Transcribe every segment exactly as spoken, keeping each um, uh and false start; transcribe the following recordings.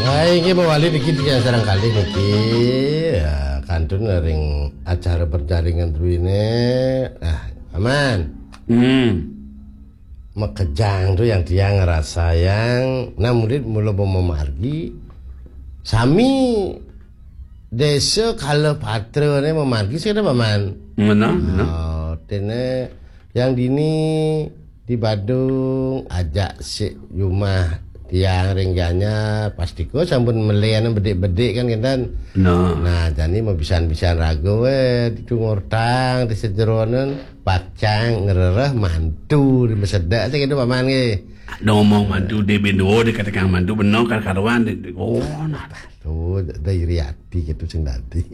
Nah, inggih mawali niki tiang sareng kalih niki. Ya, kantun ring acara perjaringan druene. Nah, aman. Hmm. Makejang tu yang tiang ngrasayang, nah, murid mula mamargi. Sami desa kala patra ne mamargi sing ada paman. Ngena, ngena. Oh, tene yang dini di Badung ajak sik jumah tiang ring Gianyar, pasti ko sampun melian bedik-bedik kan kinten. Nah. Nah, jani mabisan-bisan raga we ditu ngortang di sejeronen pacang ngrereh mantu di masedak sing itu paman nggih. Ngomong mantu di bendo di kata kang mantu bener kan karuan di, di, oh nah. Tuh, ada iri hati gitu sing dadi.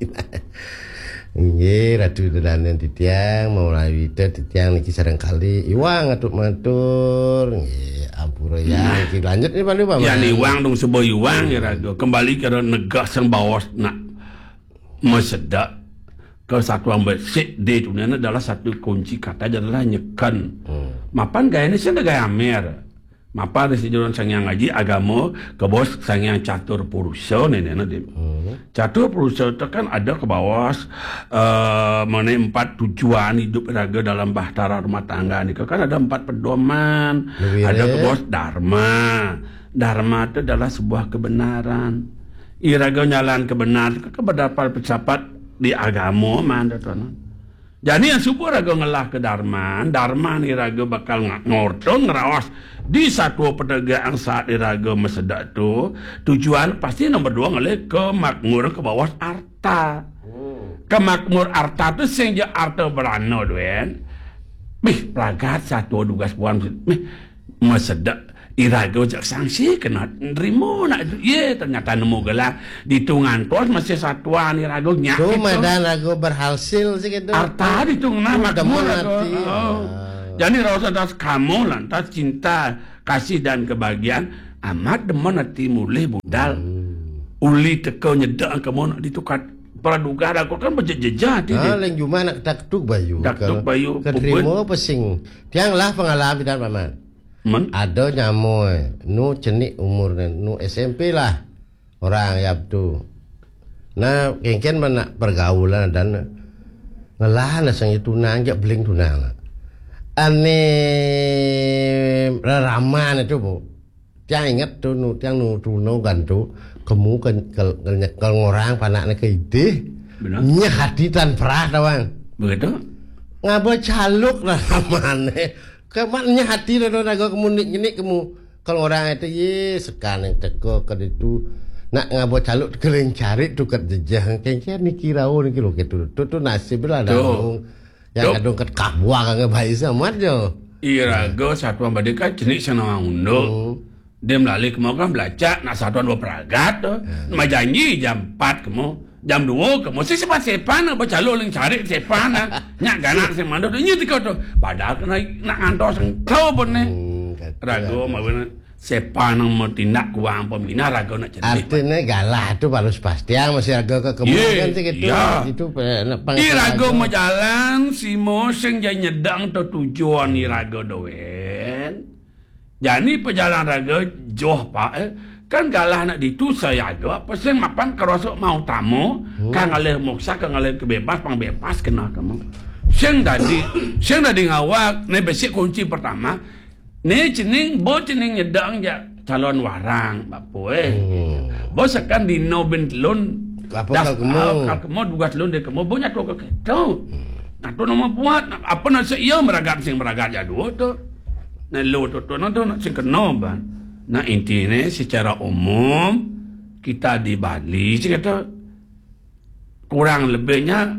Nggih, Ratu Dedanen titiang, mau lawita titiang niki sareng kali. Iwang atur matur, nggih, ampura yang niki lanjut nih Pak Lupa. Ya, iwang dong sebo iwang ya Ratu. Kembali ke negah sang bawas nak masedak ke satuan besik di dunia ini adalah satu kunci kata adalah nyeken. Hmm. Mapan gaya ini sih gaya amer. Mapan di sejuruan Sang Hyang Aji agama ke bawah Sang Hyang Catur Purusa nenek nanti. Hmm. Catur Purusa itu kan ada ke bawah eh, mengenai empat tujuan hidup raga dalam bahtera rumah tangga ni. Kan ada empat pedoman. Ada ke bawah Dharma. Dharma itu adalah sebuah kebenaran. Iraga nyalan kebenaran ke berdapat pecapat di agama man tuan. Jani yang suba raga ngelah ke darman, darman iraga bakal nga- ngorta ngeraos di satua penegaan saat iraga masedak tu, tujuan pasti nombor dua ngelih ke makmur ke bawas arta. Hmm. Ke makmur arta tu sing ja arta berana duen. Bih, pragat satua dugas puan. Bih, masedak iraga jak sangsi kena nerima nak ye ternyata nemu gelang ditu ngantos masih satuan iraga nyak. Tu madan raga berhasil sih gitu. Arta ditu ngena makmur raga. Oh. Jadi rasa das kamu lantas cinta, kasih dan kebahagiaan amat demen hati mulih budal. Hmm. Uli teka nyedek kamu nak ditukat praduga raga kan bejejejah ti. Ah, leng juma nak taktuk bayu. Taktuk bayu. Keterima pesing. Tiang lah pengalaman dan paman. Men? Ada nyamoi, nu cenik umurnya, nu S M P lah. Orang yap tu. Nah, kengken mana pergaulan dan ngelah na sang tunang jak beling tunang. Ane raraman itu bu. Tiang ingat tu nu tiang nu tuno gantu kemu ke ke, ke, ke ngorang panak ne ke idih. Benar. Nyeh hati tan perah tawang. Begitu. Ngaba caluk raraman ne. Kemat nyeh hati dah dah naga kemu nik nyenik kemu. Kalau orang itu ye sekarang yang teka ke itu nak ngaba caluk kering cari tu kat jejah kengkeng niki rau niki lo ke tu tu tu nasib lah dah. Yang kadung kat kabuah kan baik sama jo. Iraga satuan badika cenik senawang unduk. Hmm. Dia melalui kemau kan belacak nak satuan dua peragat tu. Hmm. Nama janji jam empat kemu. Jam dua ke mesti sepan-sepan apa calo ling cari sepan ah. Nyak ganak sing mandut nya tiko tu. Padahal kena nak ngantos engkau pun ni. Hmm, kata ragu aku. Mawe sepan nang mau tindak kuang pemina ragu nak jadi. Artinya galah tu baru sepastian masih ragu ke kemudian sih gitu. Ya. Itu pe- nak pang- Iraga majalan simo sing jai nyedang tu tujuan iraga doen. Jani pejalan raga joh pak eh. Kan galah nak ditu sayaga apa sing mapan kerosok mau tamu hmm. Kan ngalih moksa kan ngalih kebebas pang bebas kena kamu. Sing tadi sing tadi ngawak ni besi kunci pertama. Ni cening bo cening nyedang ja calon warang bapu eh. Hmm. Bo sekan dino bin telun. Apa das- kal kemo? Ah, kal kemo dugas telun dia kemo bo nyatu ke keto. Hmm. Nah tu nama buat apa nasi iya meragat sing meragat ya dua tu. Nah, lo tu tu nak sing kena ban. Nah, intinya secara umum kita di Bali sih kata kurang lebihnya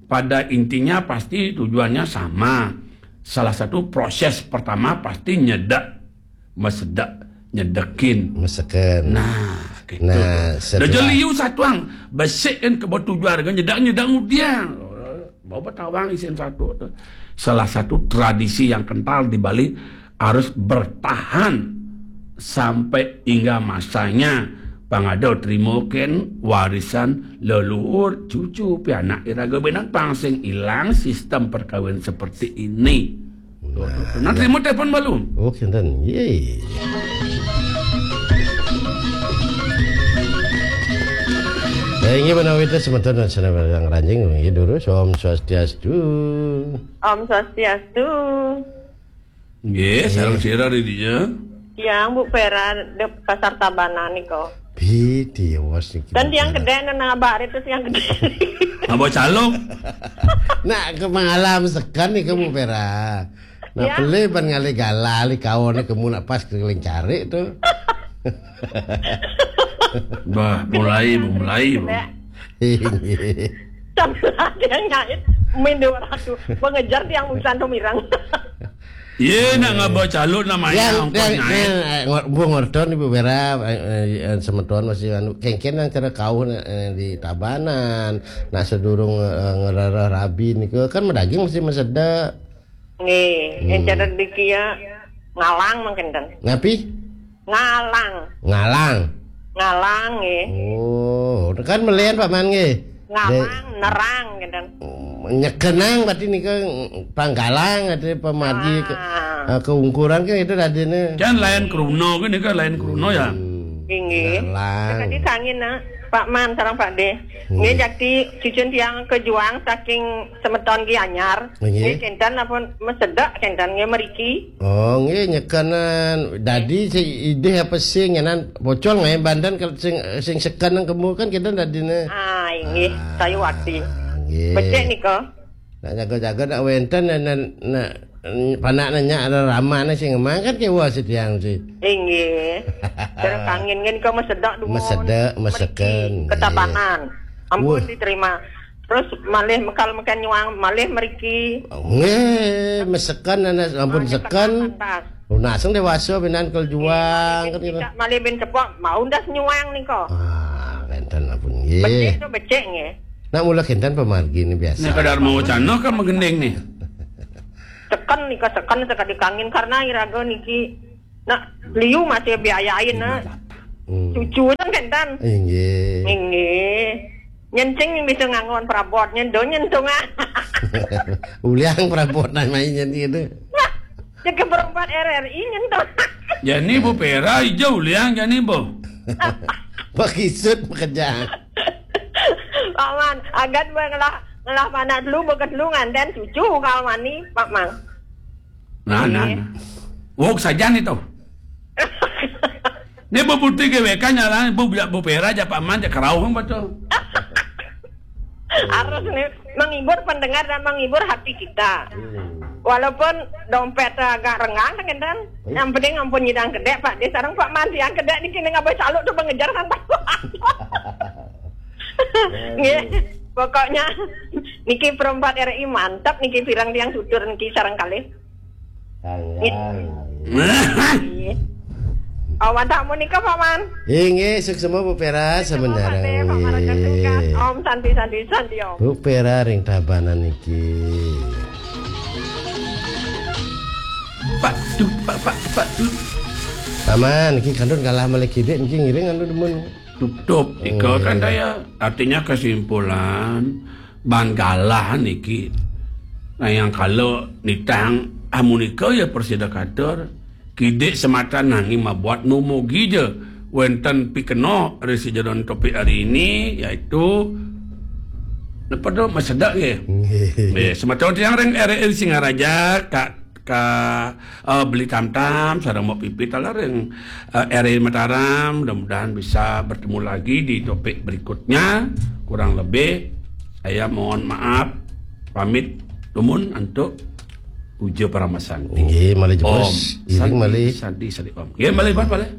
pada intinya pasti tujuannya sama. Salah satu proses pertama pasti nyedak, mesedak, nyedekin. Meseken. Nah, gitu. Nah, setelah liu satuang besikin ke tujuan nyedak nyedak mudian. Bawa tawang isin satu tu. Salah satu tradisi yang kental di Bali harus bertahan sampai hingga masanya pangada terima ken warisan leluhur cucu pianak iraga benang pang sing ilang sistem perkawin seperti ini. Nah, terima telepon balu. Oh, kinten. Yeay. Eh, inggih menawi wénten semeton dan seneng yang ranjing, inggih durus. Om Swastiastu. Om Swastiastu. Nggih, sareng sira di dinya. Tiang Bu Vera de Pasar Tabanan nika. Piti awas niki. Kan tiang gedé nang abah terus tiang gedé. Abah calok. Nak ke malam sekan nih kamu Vera. Nah, ya. Pelih ban ngalih galah, lih kaone kemu nak pas keliling cari tu. Bah, mulai, mulai, Bu. Sambil ada yang nyait, main dua ratus. Mengejar tiang urusan tu mirang. Ye, nak ngaba calon namanya. Yang, ongkos yang, nyait. Nah, eh, ngor-, Bu ngorton Ibu Vera, eh, eh, eh, semeton masih anu, kengken yang cara kau, eh, di Tabanan, nak sedurung, eh, ngerarah rabi ni ke, kan medaging mesti meseda. Nggih, hmm. Yang cara dikia ngalang mungkin kan. Ngapi? Ngalang. Ngalang. Ngalang nggih. Oh, kan melian Pak Man nggih. Ngalang, nerang gitu. Nyekenang berarti nika panggalang ada pemadi ke, ah. Eh, keungkuran kan itu tadi nih. Kan lain kruna kan nika lain kruna ya. Hmm. Inggih. Ngalang. Tadi kangin nak Pak Man sareng Pak De. Hmm. Nggih jakti cucun tiang kejuang saking semeton Gianyar. Nggih. Nggih kenten apa mesedak kenten nggih meriki. Oh, nggih nyekanan. Dadi sing idih apa sing nyanan pocol nggih bandan kalau sing, sing seken nang kemu kan kita dadine. Ah, inggih, ah, saya wakti. Nggih. Becik nika. Nak jaga-jaga nak wenten nak, nak, nak panak nanya ada ramane sing emang kan kewa setiang si. Inggih. Terus angin kan kau mesedak dulu. Mesedak, meseken. Ketabanan. Ampun diterima. Terus malih mekal meken nyuang, malih meriki. Nggih, mesekan ana ampun sekan. Lunas dewasa binan kel juang kan kita. Malih bin cepok, mau ndas nyuang nika. Ah, kenten ampun nggih. Becik tu becik nggih. Nak mula kenten pemargi ni biasa. Nek kadar mau canoh kan menggending nih. Seken nika seken sekadi kangin karena iraga niki nak liu masih biayain nak. Hmm. Cucu kan kenten. Inggih. Inggih. Nyencing yang bisa nganggon perabot, nyen do nyentung ah. Uliang perabot nah main nyen gitu. Nah, jadi berempat R R I nyentung. Jani Bu Pera ijo uliang jani Bu. Pakisut pekerjaan. Paman, agan ngelah ngelah mana dulu bekas dulu nganten cucu kalau mani, Pak Mang. Nah, nah, nah. Wok saja nih tuh. Ini Bu Putri G W K nyala, Bu Bu Pera aja Pak Man aja kerauh betul. Harus nih menghibur pendengar dan menghibur hati kita. Hmm. Walaupun dompet agak renggang kan, yang penting ampun nyidang kedek Pak. Dia sarang Pak Man yang kedek nih kini ngabai saluk tuh mengejar santai. Nggih. Pokoknya niki perempat R I mantap niki pirang tiang sudur niki sarang kalih. Sayang. Iya. Awan tamu nika Paman. Inggih, suksema Bu Pera sebenarnya. Om Santi Santi Santi Om. Bu Pera ring Tabanan niki. Pak tu, Pak Pak Pak tu. Paman, niki kandun kalah malih kidik niki ngiring anu demen. Tutup. Ika kan daya. Artinya kesimpulan ban galah niki. Nah, yang kalau nitang amunika ya persida katur kidik sematan nanging mabuat numugi je wenten pikeno ri sijeron topik hari ini yaitu napa tu masedak nggih. Nggih. Nggih, sematan tiang ring R R I Singaraja Kak ka uh, beli tam-tam sareng Mbok Pipi talareng uh, R I Mataram, mudah-mudahan bisa bertemu lagi di topik berikutnya. Kurang lebih saya mohon maaf pamit lumun untuk puja paramasanti. Nggih, malih jebos. Om Santi, malih Santi Santi Om. Nggih, malih malih.